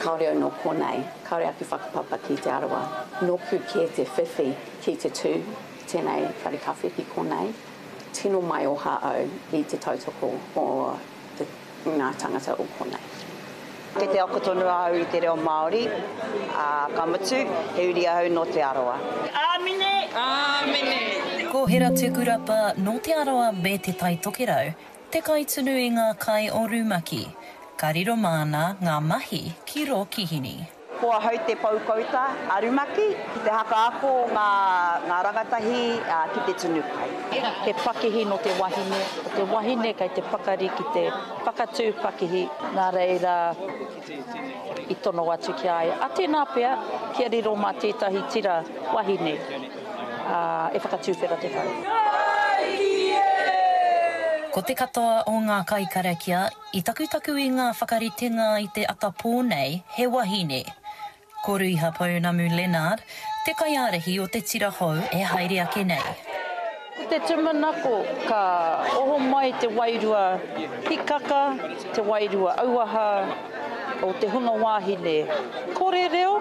Kāore au nō konei, kāore aku whakapapa ki Te Arawa. Nōku kē te whiwhi ki te tū tēnei whare kawhe ki konei. Tino maioha au i te tautoko o te, ngā tangata o konei. Kei te ako tonu ahau i te reo Māori, ā, ka mutu, he uri ahau nō Te Arawa. Āmine! Āmine! Ko Hera Tukurapa nō Te Arawa me Te Tai Tokerau te kaitunu i ngā kai o Rumaki. Ka riro māna ngā mahi ki rō kihini. Ko ahau te pou kouta a Rumaki ki te hakaako ngā ngā rangatahi ki te tunu kai. He pakihi nō te wahine, ko te wahine kei te pakari ki te whakatū pakihi, nā reira i tono atu ki a ia, a tēnā pea kia riro mā tētahi tira wahine e whakatūwhera te whare. Ko te katoa o ngā kaikarakia I takutaku i ngā whakaritenga i te ata pō nei, he wahine. Ko Ruiha Pounamu Lennard, te kaiārahi o te tira hou e haere ake nei. Ko te tūmanako ka oho mai te wairua hikaka, te wairua auaha o te hunga wāhine kore reo,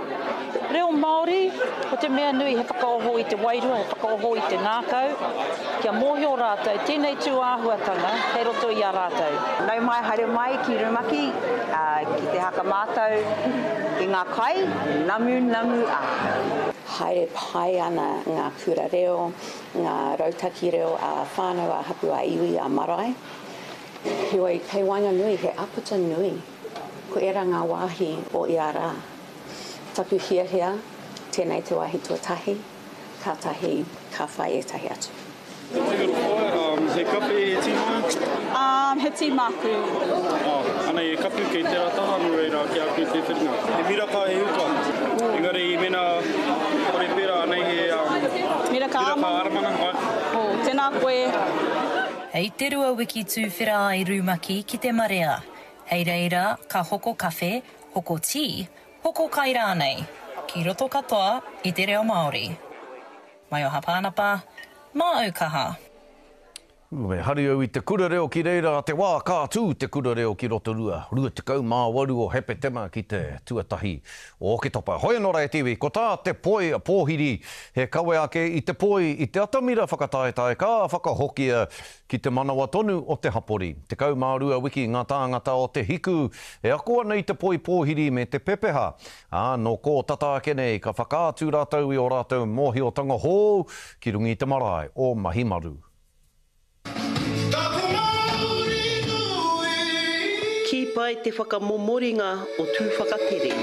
reo Māori, ko te mea nui he whakaoho i te wairua, he whakaoho i te ngākau, kia mōhio rātou tēnei tū āhuatanga kei roto i a rātou. Nau mai haere mai ki Rumaki ki te haka mātau i ngā kai, namunamu a. Haere pai ana ngā kura reo, ngā rautaki reo ā-whānau, ā-hapū, ā-iwi, ā-marae. Heoi, kei waenganui he āputa nui. Ko ērā ngā wāhi o ia rā. Taku hiahia, tēnei te wāhi tuatahi, kātahi ka whai ētahi atu. He kape, he tī māu? He tī māku. Oh, anei he kapu kei tērā taha, nō reira ki a koe te whiringa. He miraka, he huka. Engari mēnā kore pērā, anei he miraka āmana. Oh, tēnā koe. Hei te rua wiki tūwhera ai Rumaki ki te marea. Hei reira ka hoko kawhe, hoko tī, hoko kai rānei, ki roto katoa i te reo Māori. Maioha Pānapa, Māu kaha! Me hari au i te kura reo ki reira a te wā ka tū te kura reo ki Rotorua, 28 o Hepetema ki te tuatahi o Oketopa. Hoi anō rā e te iwi, ko tā te poi pōhiri he kawe ake i te poi i te atamira whakataetae ka whakahokia Ki te manawa tonu o te hapori. 12 wiki ngā tāngata o Te Hiku e ako ana i te poi pōhiri me te pepeha, ā, nō kō tata ake nei ka whakaatu rātou i ō rātou mōhiotanga hou ki runga i te marae o Mahimaru. Kī pai te whakamomoringa o Tūwhakatere.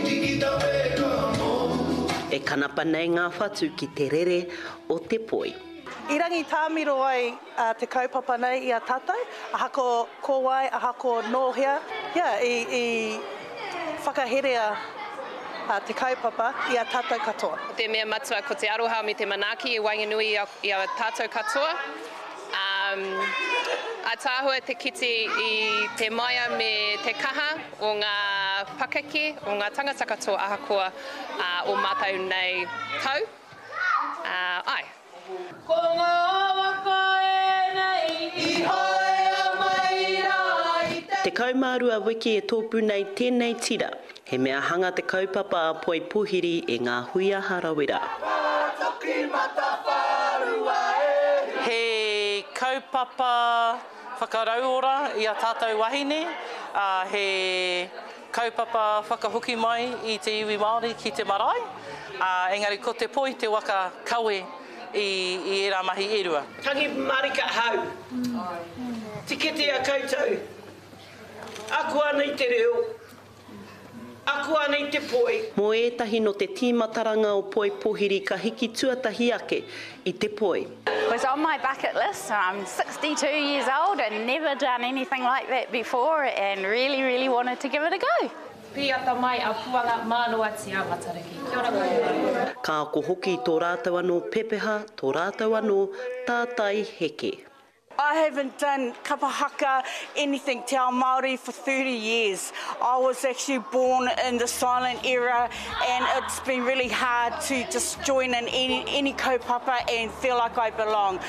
E kanapa nei ngā whatu ki te rere o te poi. I rangitāmiro ai te kaupapa nei i a tātou, ahako ko wai, ahako nō hea, yeah, i, i whakaherea te kaupapa i a tātou katoa. Ko te mea matua ko te aroha me te manaaki i waenganui i a tātou katoa. Um, ataahua te kite i te maia me te kaha o ngā pakeke, o ngā tangata katoa ahakoa uh, o mātou nei tau. Uh, ai. Ko ngā waka ēnei i haea mai rā i te. 12 wiki e tōpū nei tēnei tira. He mea hanga te kaupapa a Poi Pohiri e ngā huia harawira. He kaupapa whakarauora i a tātou wahine, ā, he kaupapa whakahoki mai i te iwi Māori ki te marae, ā, engari ko te poi te waka kawe i, i ērā mahi e rua. Tangi marika ahau. Tikete a koutou. Ako ana i te reo. Ako ana i te poi. Mō ētahi nō te tīmataranga o Poi Pohiri ka hiki tuatahi ake i te poi. Was on my bucket list, I'm 62 years old and never done anything like that before and really really wanted to give it a go. Pīata mai a Puanga mānoatia Matariki. Kia ora koutou. Ka ako hoki i tō rātou anō pepeha, tō rātou anō tātai heke. I haven't done kapa haka, anything te ao Māori for 30 years. I was actually born in the silent era and it's been really hard to just join in any, any kaupapa and feel like I belong.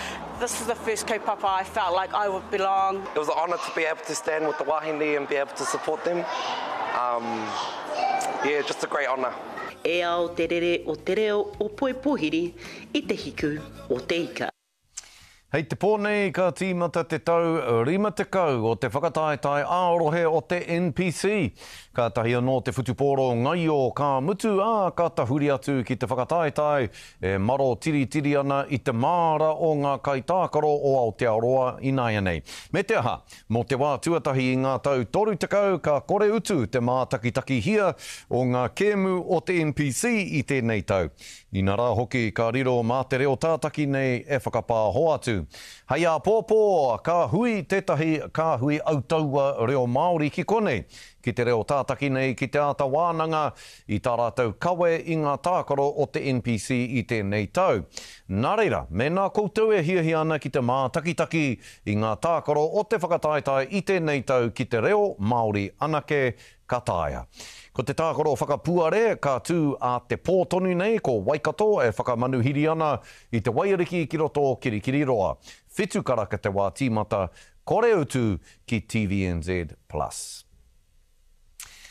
This is the first kaupapa I felt like I would belong. It was an honour to be able to stand with the wahine and be able to support them. Um, Yeah, just a great honour. E ao te rere o te reo o Poipohiri i te hiku o te ika. Hei te pō nei ka tīmata te tau 50 o te whakataetae ā-rohe o te NPC. Kātahi anō te whutupōro ngaio ka mutu, ā, ka tahuri atu ki te whakataetae e maro tiritiri ana i te māra o ngā kaitākaro o Aotearoa ināianei. Me te aha, mō te wā tuatahi i ngā tau 30 ka kore utu te mātakitakihia o ngā kēmu o te NPC i tēnei tau. Inarā hoki ka riro mā te reo tātaki nei e whakapāho atu. Hei āpōpō ka hui tētahi kāhui autaua reo Māori ki konei, ki te reo tātaki nei ki te āta wānanga i tā rātou kawe i ngā tākaro o te NPC i tēnei tau. Nā reira, mēnā koutou e hiahia ana ki te mātakitaki i ngā tākaro o te whakataetae i tēnei tau ki te reo Māori anake, Ka taea. Ko te tākaro whakapuare ka tū ā te pō tonu nei ko Waikato e whakamanuhiri ana i te waiariki ki roto o Kirikiriroa. Whitu karaka te wā tīmata, kore utu ki TVNZ Plus.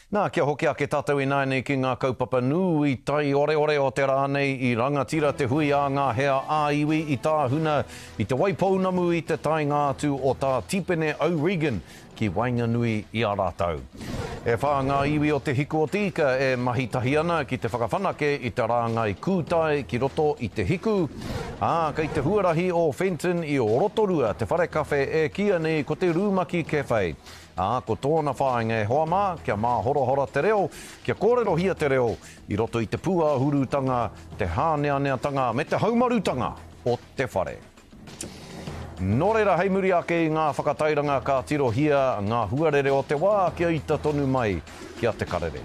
Nā, kia hoki ake tātou ināianei ki ngā kaupapa nui taioreore o te rā nei i rangatira te hui ā ngā hea ā-iwi i tāhuna i Te Waipounamu i te taenga atu o Tā Tipene O'Regan ki waenganui i a rātou. E whā ngā iwi o Te Hiku o Te Ika e mahi tahi ana ki te whakawhanake i te rāngai kūtai ki roto i Te Hiku, ā, kei te huarahi o Fenton i Rotorua te whare kawhe e kīia nei ko te Rūmaki Cafe, ā, ko tōna whāinga e hoa mā, kia māhorahora te reo, kia kōrerohia te reo i roto i te pūāhurutanga, te hāneaneatanga me te haumarutanga o te whare. Nō reira, hei muri ake i ngā whakatairanga ka tirohia ngā huarere o te wā kia ita tonu mai ki a Te Karere.